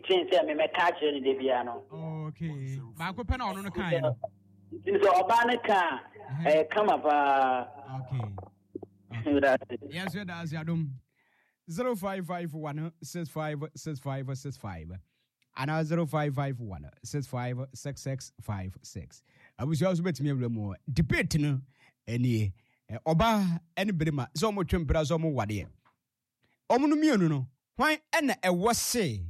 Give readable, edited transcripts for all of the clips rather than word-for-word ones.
kyɛn sɛ memɛka akyerɛ no da biara no. Okay. Baako pɛ na ɔno no kaeɛ no. Nti sɛ ɔbaa no ka a, ɛyɛ kama paa. Okay. Yɛn nso yɛda ase adom. 0551 656565 anaa 0551 656656. Abusua nso bɛtumi awura mu. Debate no nie. Ɔbaa ne barima sɛ wɔn twe mpena sɛ wɔn wadeɛ. Wɔn no mmienu no, hwan na ɛwɔ se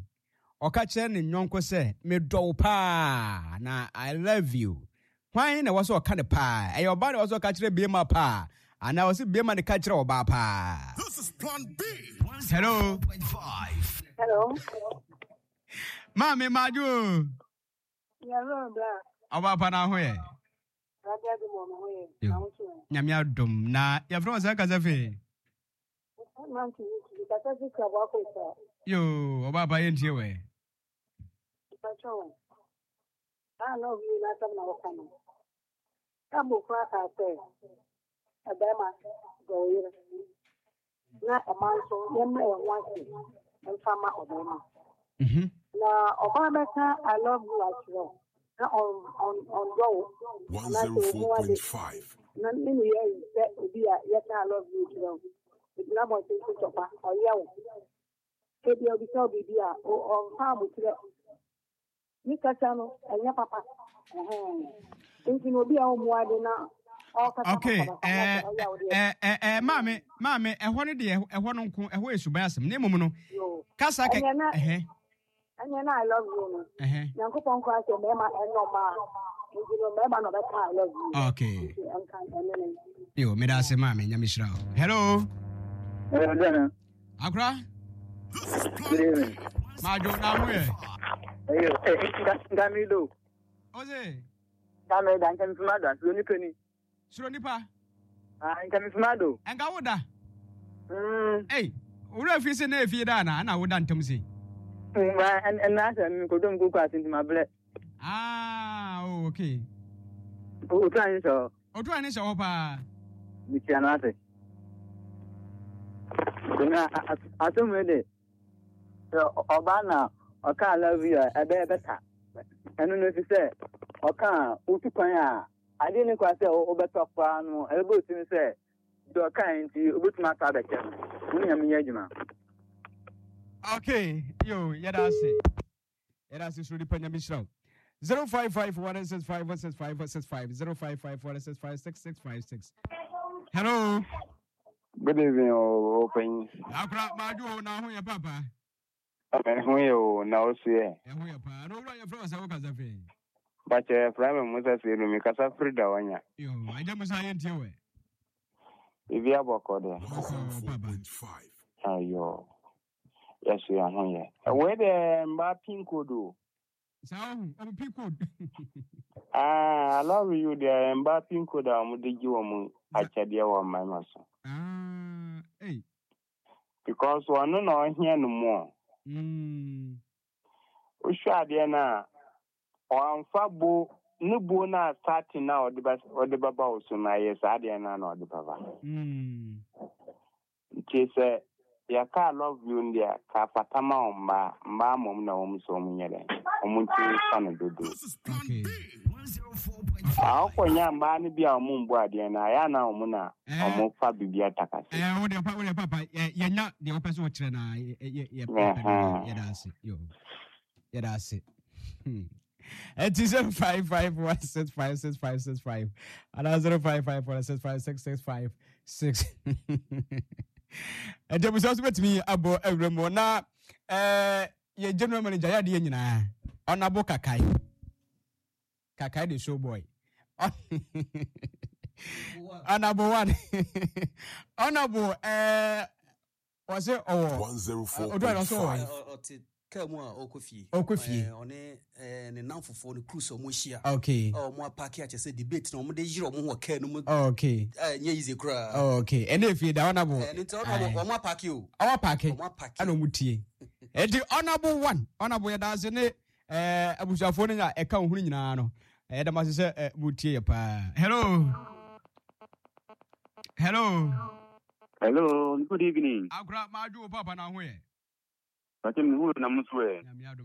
ɔka kyerɛ ne nyɔnko sɛ medɔ wo paa na I love you? Hwan na ɛwɔ sɛ ɔka no paa? Ɛyɛ ɔbaa na ɛwɔ sɛ ɔka kyerɛ bema paa anaa ɔsɛ bema ne ka kyerɛ ɔbaa paa? This is Plan B. Hello. Hello. Maame Madwo. Ɔbaa pa na ho yɛ. Nyame adom na yɛfrɛ wɔ sɛ kasa fee. Yo, ɔbaa pa yɛntie wɛ. Ah, na obi n'asɛm na wɔka no. Bible koraa kaa sɛ, ɛbɛrima dɔ wo yere, na ɔma nso yɛmmrɛ yɛn ho ase mfa ma ɔbɛrima. Na ɔbaa bɛka I love you akyerɛ wo na ɔndɔ wo anaasɛ ɔmu ade na ne ne yɛ ayi sɛ obi a yɛka I love you kyerɛ wo ɛgyina abɔnten so tɔkwa ɔyɛ wo ebia obisa wo biribi a ɔmfa abokyerɛ Ne kasa no ɛnyɛ papa nti na obi a ɔmmu ade na ɔkasa okay basabasa na ɔyɛ a ɔde ɛɛ ɛɛ maame maame ɛhɔ no deɛ ɛhɔ no nko ɛhɔ yɛ suban asɛm na mmom no kasa kɛ ɛhɛ ɛnyɛ na I love you no nyankopɔn kora sɛ mmarima ɛnyɛ ɔmaa nti no mmarima na ɔbɛka I love you okay nti ɛnka ɛne ne yo meda ase maame nyame hyira wo. Hello. Hello. Akora. Majo na ho yɛ. Ayo, Ngamido. Ose. Ngamido, nka mfuma da, suro nipa ni. Suro nipa. Ah, nka mfuma do. Nka wo da. Mm. Ei, owura fi se na efie da na na wo da ntam se. Ba, en na se mi kodom kuku asinti ma ble. Ah, oh, okay. Otu anyi so. Otu anyi so pa. Mi tia na ase. Na asɛm wei de ɔbaa na ɔka I love you a ɛbɛyɛ bɛta ɛno no fi sɛ ɔka a wotu kwan a adeɛ ne kwa sɛ wobɛtɔ koraa no ɛbɛbɔ otimi sɛ deɛ ɔka nti wobɛtumi atɔ abɛkyɛ no wo ne nyame nyɛ adwuma. Okay, yo, yɛda ase. Yɛda ase soro nipa nyame hyira wo. 0551656565 0551656656. Hello. Good evening, Opanyin. Akora maadwo na ho yɛ papa. Ɛho yɛ o na o so yɛ. Ɛho yɛ paa. Na owura yɛfrɛ wo sɛ wo kasa firi. Bakyɛ yɛfrɛ me Musa Seidu me kasa firi Dawanya. Yo, agya Musa yɛntie wɛ. Biribi abɔkɔ deɛ. Bɔkɔ papa. Ayo. Yɛso yɛn ho yɛ. Wei deɛ mbaa pin code o. Saa ɔho, ɔmo pin code. Ah, I love you deɛ mbaa pin code a wɔn de gye wɔn akyɛdeɛ wɔ mmarima so. Ah, hey. Because ɔno na ɔhia no mu o. Wohwɛ adeɛ no a, ɔamfa bo ne bo no a starting na ɔde ba ɔde bɛba wo so no ayɛ saa adeɛ no a na ɔde bɛba. Nti sɛ yɛka I love you no deɛ ka fata ma wo mmaa mmaa mmom na wɔn sɛ wɔn nyɛ dɛn wɔn ntumi fa no dodo. Okay. Akɔnya mmaa no bi a wɔn mbu adeɛ no ayɛ na wɔn na wɔn fa biribi atakase. Ɛɛ wo deɛ pa wo deɛ papa yɛ yɛnya deɛ wɔpɛ sɛ wɔkyerɛ na yɛ yɛ yɛ pɛ no yɛda ase yo yɛda ase. Ɛti 0551656565 anaa 0551656656. Ɛti abusua nso bɛtumi abɔ awura mu na ɛɛ yɛ general manager yɛ adeɛ nyinaa ɔnabo kakae kakae de show boy ɔnabo one ɔnabo ɛɛ ɔsɛ ɔwɔ ɔdɔ ɛna ɔsɛ ɔwɔ ɔte kaa mu a ɔkɔ fie ɔkɔ fie ɔne ne namfofoɔ no cruise ɔmo ahyia okay a ɔmo apaake akyɛ sɛ debate na ɔmo de yere ɔmo ho wɔ kaa no mu okay ɛnyɛ easy koraa okay ɛna efie da ɔnabo ɛno nti ɔnabo ɔmo apaake o ɔmo apaake ɔmo apaake ɛna ɔmo tie ɛnti ɔnabo one ɔnabo yɛ daase ne ɛɛ abusuafoɔ no nya ɛka ohun nyinaa no ɛyɛ dɛm ase sɛ ɛ mo tie yɛ paa. Hello hello. Hello, good evening. Akora maadwo wo papa na ho yɛ. Pàtó mi hu na mo so ɛ. Nyame adom.